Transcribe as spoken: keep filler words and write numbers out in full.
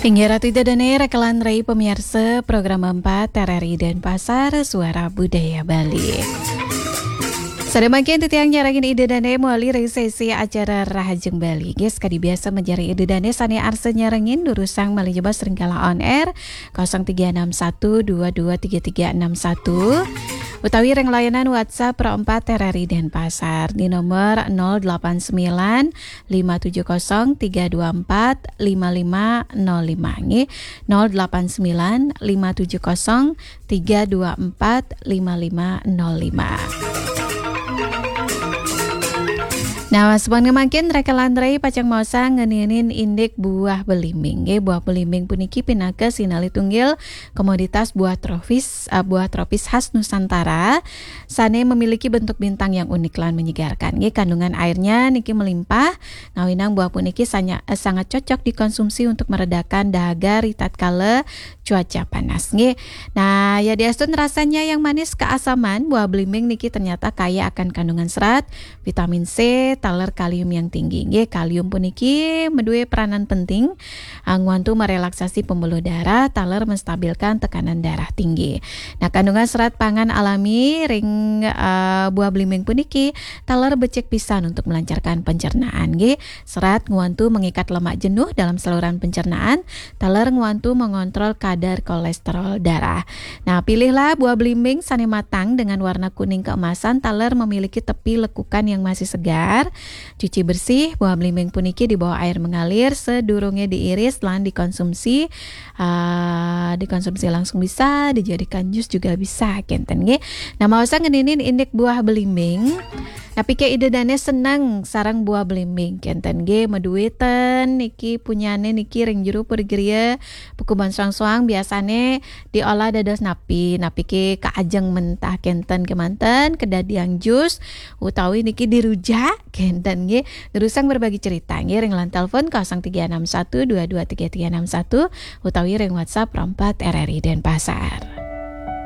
Inggih Ratu Ida Dane, rakalan rai pamiarsa program empat R R I Denpasar, Suara Budaya Bali. Sada mangkin titiang nyarengin Ida Dane mawali ring sesi acara Rahajeng Bali. Nggih, sakadi biasa manjari Ida Dane sane arsa nyarengin, durusang malih jebos ring galah on air kosong tiga enam satu dua dua tiga tiga enam satu utawi ring layanan WhatsApp Pro empat R R I Denpasar di nomor nol delapan sembilan lima tujuh kosong tiga dua empat lima lima nol lima, nggih, nol delapan sembilan lima tujuh kosong tiga dua empat lima lima nol lima. Nah, sampun mangkin rakalan rai pacang maosang ngeninin indik buah belimbing, nggih. Buah belimbing puniki pinaka sinalih tunggil komoditas buah tropis, eh, buah tropis khas Nusantara sane memiliki bentuk bintang yang unik lan menyegarkan. Nggih, kandungan airnya niki melimpah, ngawinang buah puniki sanya-, eh, sangat cocok dikonsumsi untuk meredakan dahaga ritatkala cuaca panas. Nggih. Nah, ya diastun rasanya yang manis keasaman, buah belimbing niki ternyata kaya akan kandungan serat, vitamin C, taler kalium yang tinggi. Nggih, kalium puniki madue peranan penting, ah, ngwantu merelaksasi pembuluh darah, taler menstabilkan tekanan darah tinggi. Nah, kandungan serat pangan alami ring, ah, buah belimbing puniki taler becik pisan untuk melancarkan pencernaan, nggih. Serat ngwantu mengikat lemak jenuh dalam saluran pencernaan, taler ngwantu mengontrol kadar kolesterol darah. Nah, pilihlah buah belimbing sane matang dengan warna kuning keemasan, taler memiliki tepi lekukan yang masih segar. Cuci bersih buah belimbing puniki di bawah air mengalir sedurunge diiris lan dikonsumsi. Ah, dikonsumsi langsung bisa, dijadikan jus juga bisa, kenten nggih. Nah, maosang ngeninin indik buah belimbing. Napike Ida Dane seneng sareng buah belimbing, kenten nggih? Madue ten niki punyane niki ring jero puri griya, pakubon soang-soang biasane diolah dados napi, napike kaajeng mentah kenten kemanten, kadadiang jus, utawi niki dirujak, kenten nggih? Durusang berbagi cerita nggih ring line telepon kosong tiga enam satu dua dua tiga tiga enam satu utawi ring WhatsApp Pro empat R R I Denpasar.